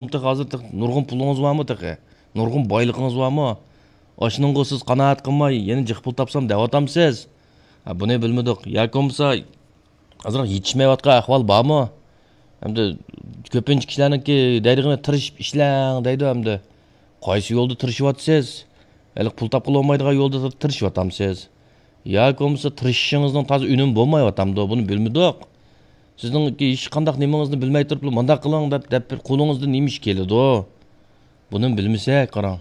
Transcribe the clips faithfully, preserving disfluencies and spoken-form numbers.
تېخى ھازىر تېخى نۇرغۇن پۇلىڭىز بارمۇ تېخى؟ نۇرغۇن بايلىقىڭىز بارمۇ؟ ئاشۇنىڭغا سىز قانائەت قىلماي، يەنە جىق پۇل تاپسام دەۋاتامسىز؟ ھە، بۇنى بىلمىدۇق. ياكى بولمىسا، ئازراق يېتىشمەيۋاتقان ئەھۋال بارمۇ؟ ئەمدى كۆپىنچە كىشىلەرنىڭكى دەيدىغىنى تىرىشىپ ئىشلەڭ دەيدۇ ئەمدى. قايسى يولدا تىرىشىۋاتىسىز؟ ھېلىقى پۇل تاپقىلى بولمايدىغان يولدا تىرىشىۋاتامسىز؟ ياكى بولمىسا تىرىشىشىڭىزنىڭ تازا ئۈنۈمى بولمايۋاتامدۇ؟ بۇنى بىلمىدۇق. سىزنىڭكى ھېچقانداق نېمىڭىزنى بىلمەي تۇرۇپلا مۇنداق قىلىڭ دەپ، دەپ بىر قولىڭىزدىن نېمە ئىش كېلىدۇ؟ بۇنىمۇ بىلمىسەك، قاراڭ.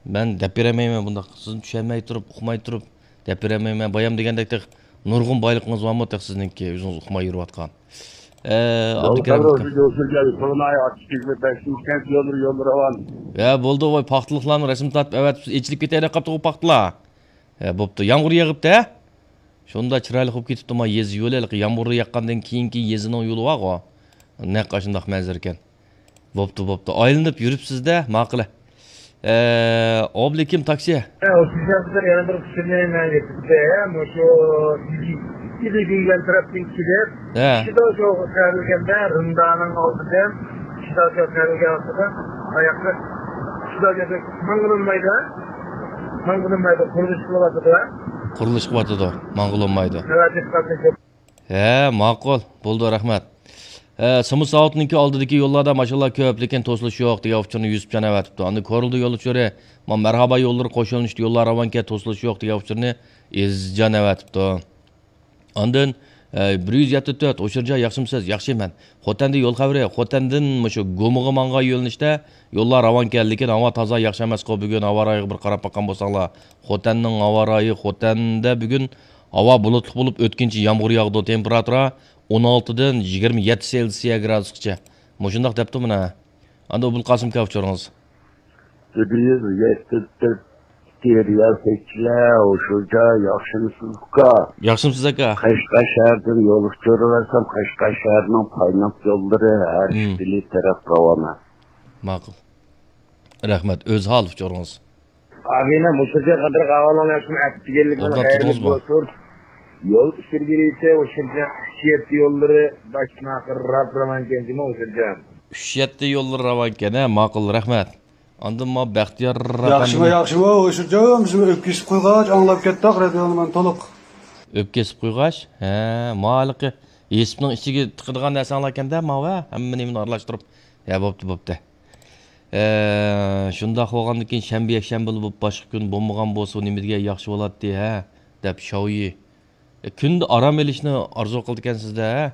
مەن دەپ بېرەلمەيمەن بۇنداق. سىزنى چۈشەنمەي تۇرۇپ، ئۇقماي تۇرۇپ دەپ بېرەلمەيمەن. بايام دېگەندەك تېخى نۇرغۇن بايلىقىڭىز بارمۇ تېخى سىزنىڭكى ئۆزىڭىز ئۇقماي يۈرۈۋاتقان؟ ئە، يول ئابدۇكېرىم ئۇكام. يول سۈرگەن، سولىناي، ئاچچىق يىگىرمە بەشىنچى كەنت يوللىرى، يوللىرى راۋان. ھە، بولدى، ۋاي، پاختىلىقلارنى رەسىم تارتىپ ئەۋەتىپ ئېچىلىپ كېتەي دەپ قاپتۇ پاختىلار. ھە، بوپتۇ، يامغۇر يېغىپتۇ، ھە؟ شۇنداق چىرايلىق بولۇپ كېتىپتۇ، ما يېزا يولى، ھېلىقى يامغۇر ياغقاندىن كېيىنكى يېزىنىڭ يولى بارغۇ. نەق ئاشۇنداق مەنزىرىكەن. بوپتۇ، بوپتۇ. ئايلىنىپ يۈرۈپسىز-دە، ماقۇل. ئە، ئابلىكىم تاكسى. ئە، ئۇ سىزگە بىر يەنە بىر ئۇچۇرنى مەن يەتكۈزدى. مۇشۇ ئىلى دېگەن تەرەپتىن كېلىپ، ھە. شىداشوغا تەۋرىگەندە، رىمدانىڭ ئالدىدىن شىداشوغا تەۋرىگەن ۋاقتىدا ئاياققا شىداشوغا ماڭغىلى بولمايدۇ. ماڭغىلى بولمايدۇ. قۇرۇلۇش قىلىۋاتىدۇ. قۇرۇلۇش قىلىۋاتىدۇ. ماڭغىلى بولمايدۇ. نۆۋەتتە ھە، ماقۇل. بولدى، رەھمەت. ئە، سىمۇ ساۋۇتنىڭكى ئالدىدىكى يوللاردا ماشىنىلار كۆپ، لېكىن توسۇلۇش يوق دېگەن ئۇچۇرنى يۈسۈپجان ئەۋەتىپتۇ. ئاندىن كورلىدا يول ئۇچۇرى، ما مەرھابا يوللىرى قوشۇلۇنۇشتا يوللار راۋانكەن، توسۇلۇش يوق دېگەن ئۇچۇرنى ئېزىزجان ئەۋەتىپتۇ. ئاندىن، ئە، بىر يۈز يەتتە تۆت، ھوشۇرجان ياخشىمۇسىز؟ ياخشى مەن. خوتەندىن يول خەۋىرى، خوتەندىن مۇشۇ گۇمىغا ماڭغان يۆنىلىشتە يوللار راۋانكەن، لېكىن ھاۋا تازا ياخشى ئەمەسقۇ بۈگۈن، ھاۋا رايىغا بىر قاراپ باققان بولساڭلار. خوتەننىڭ ھاۋا رايى، خوتەندە بۈگۈن ھاۋا بۇلۇتلۇق بولۇپ، ئۆتكۈنچە يامغۇر ياغىدۇ. تېمپېراتۇرا ئون ئالتىدىن يىگىرمە يەتتە سېلسىيە گرادۇسقىچە. مۇشۇنداق دەپتۇ مانا. ئاندىن ئوبۇلقاسىم ئاكا ئۇچۇرىڭىز. بىر يۈز يەتتە تۆت رىياسەتچىلەر، ھوشۇرجان ياخشىمۇسىز ئۇكا؟ ياخشىمۇسىز ئاكا؟ قەشقەر شەھىرىدىن يول ئۇچۇرى بەرسەم، قەشقەر شەھىرىنىڭ پايناپ يوللىرى ھەر مم. ئىككىلى تەرەپ راۋانە. ماقۇل. رەھمەت. ئۆزھال ئۇچۇرىڭىز. ئابىنە مۇشۇرجان قاتارلىق ئاۋالىڭ ياخشىمۇ ئەپ دېگەنلىك مانا ئوبدان خەيرلىك تۇردىڭىزمۇ؟ بولسۇن. يول ئۈستىلگىرىسى ئۇشۇرجان ئۈچ يەتتە يوللىرى باشتىن ئاخىر راپ راۋانكەن جۇمۇ ئۇشۇرجان. ئۈچ يەتتە يوللىرى راۋانكەن، ھە، ماقۇل، رەھمەت. ئاندىن ما بەختىيار ياخشىمۇ، ئەپەندىم. ياخشىمۇ، ئۇشۇرجان، بىز ئۆپكىسىپ قويغاچ ئاڭلاپ كەتتۇق، رادىيونى مانا تولۇق. ئۆپكىسىپ قويغاچ، ھە، ما ھېلىقى ھېسىپنىڭ ئىچىگە تىقىدىغان نەرسەڭلاركەندە، ماۋۇ، ھە، ھەممە نېمىنى ئارىلاشتۇرۇپ. ھە، بوپتۇ، بوپتۇ. ئە، شۇنداق بولغاندىن كېيىن شەنبە، يەكشەنبىلا بولۇپ، باشقا كۈن بولمىغان بولسا، نېمە دېگەن ياخشى بولاتتى، ھە؟ دەپ شاۋيى. ئە، كۈندە ئارام ئېلىشنى ئارزۇ قىلىدىكەنسىز-دە، ھە؟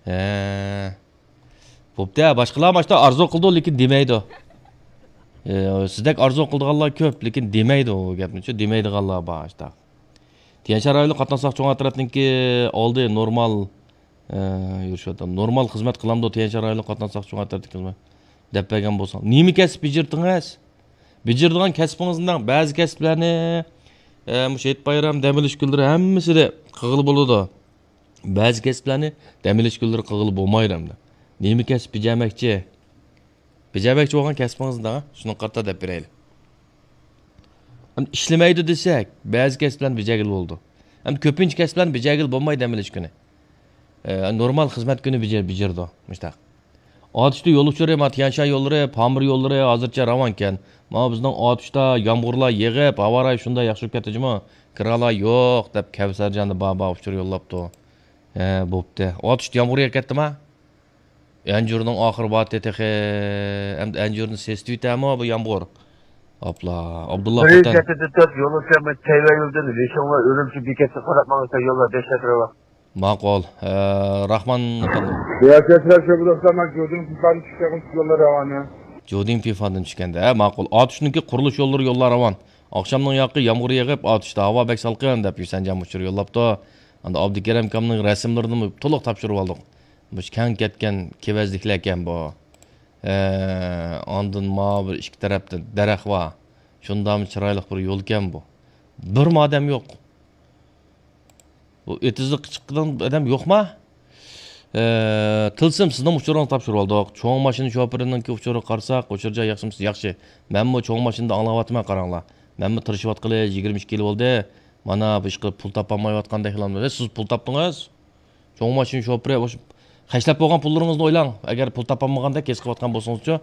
ھە. بوپتۇ، باشقىلار ماشتا ئارزۇ قىلىدۇ، لېكىن دېمەيدۇ. ئە، سىزدەك ئارزۇ قىلىدىغانلار كۆپ، لېكىن دېمەيدۇ ئۇ گەپنى، شۇ دېمەيدىغانلار بار، شۇنداق. تيەنشان رايونلۇق قاتناش ساقچى گۇڭئەن تەرەپنىڭكى ئالدى نورمال، ئە، يۈرۈشۈۋاتىدۇ. نورمال خىزمەت قىلامدۇ تيەنشان رايونلۇق قاتناش ساقچى گۇڭئەن تەرەپنىڭكى خىزمەت؟ دەپ بەرگەن بولساڭ. نېمە كەسىپ بېجىرىدىڭىز؟ بېجىرىدىغان كەسپىڭىزنىڭ بەزى كەسىپلەرنى، ئە، مۇشۇ ھېيت بايرام، دەم ئېلىش كۈنلىرى ھەممىسىدە قىلغىلى بولىدۇ. بەزى كەسىپلەرنى دەم ئېلىش كۈنلىرى قىلغىلى بولمايدۇ ئەمدى. نېمە كەسىپ بېجەرمەكچى؟ بېجەرمەكچى بولغان كەسپىڭىزنى دەڭ، شۇنىڭغا قارىتا دەپ بېرەيلى. ئەمدى ئىشلىمەيدۇ دېسەك، بەزى كەسىپلەرنى بېجەرگىلى بولىدۇ. ئەمدى كۆپىنچە كەسىپلەرنى بېجەرگىلى بولمايدۇ دەم ئېلىش كۈنى. ئە، نورمال خىزمەت كۈنى بېجە-، بېجىرىدۇ، مۇشتاق. ئاتۇشتا يول ئۇچۇرى، ما، تيەنشان يوللىرى، پامىر يوللىرى ھازىرچە راۋانكەن. ما، بىزنىڭ ئاتۇشتا يامغۇرلار يېغىپ، ھاۋا رايى شۇنداق ياخشى بولۇپ كەتتى جۇمۇ، كىرانلار يوق، دەپ كەۋسەرجان بابا ئۇچۇر يوللاپتۇ. ھە، بوپتۇ. ئاتۇشتا يامغۇر يېغىپ كەتتىما؟ ئەنجۈرنىڭ ئاخىرى بارتى تېخى. ئەمدى ئەنجۈرنى سېسىتىۋېتەرمۇ بۇ يامغۇر؟ ئاپلا، ئابدۇللا بىر يۈز خوتەن. يەتتە تۆت يول ئۆتكەن تەيۋەن يولىدىن لىشىڭ ۋە ئۈرۈمچى بېكەتكە قاراپ ماڭسا يوللار بەش مەتر بار. ماقۇل. ئە، راخمان ئەپەندىم. رىياسەتچىلەر شۆبىدە ئۇستام، مەن جۇدىڭ پىفاندىن چۈشكەن يوللار راۋانە. جۇدىڭ پىفاندىن چۈشكەندە، ھە، ماقۇل. ئاتۇشنىڭكى قۇرۇلۇش يوللىرى يوللار راۋان. ئاخشامنىڭ ياقى يامغۇر يېغىپ، ئاتۇشتا ھاۋا بەك سالقىن دەپ ھۈسەنجان ئۇچۇر يوللاپتۇ. ئاندىن ئابدۇكېرىم ئاكامنىڭ رەسىملىرىنىمۇ تولۇق تاپشۇرۇۋالدۇق. مۇشۇ كەڭ كەتكەن كېۋەزلىكلەركەن بۇ. ھە، ئاندىن ماۋۇ بىر ئىككى تەرەپتە دەرەخ بار. شۇنداقمۇ چىرايلىق بىر يولكەن بۇ. بىرمۇ ئادەم يوق. بۇ ئېتىزلىققا چىققىدىغان ئادەم يوقما؟ ھە، تىلسىم سىزنىڭ ئۇچۇرىڭىزنى تاپشۇرۇۋالدۇق. چوڭ ماشىنا شوپۇرىنىڭكى ئۇچۇرىغا قارىساق، ئۇچۇرجان ياخشىمۇسىز؟ ياخشى. مەنمۇ چوڭ ماشىنىدا ئاڭلاۋاتىمەن، قاراڭلار. مەنمۇ تىرىشىۋاتقىلى يىگىرمە ئىككى يىل بولدى. مانا بۇ ئىشقا پۇل تاپالمايۋاتقاندەكلا. ھە، سىز پۇل تاپتىڭىز؟ چوڭ ماشىنا شوپۇرى، ئوش-، خەجلەپ بولغان پۇللىرىڭىزنى ئويلاڭ. ئەگەر پۇل تاپالمىغاندەك ھېس قىلىۋاتقان بولسىڭىزچۇ،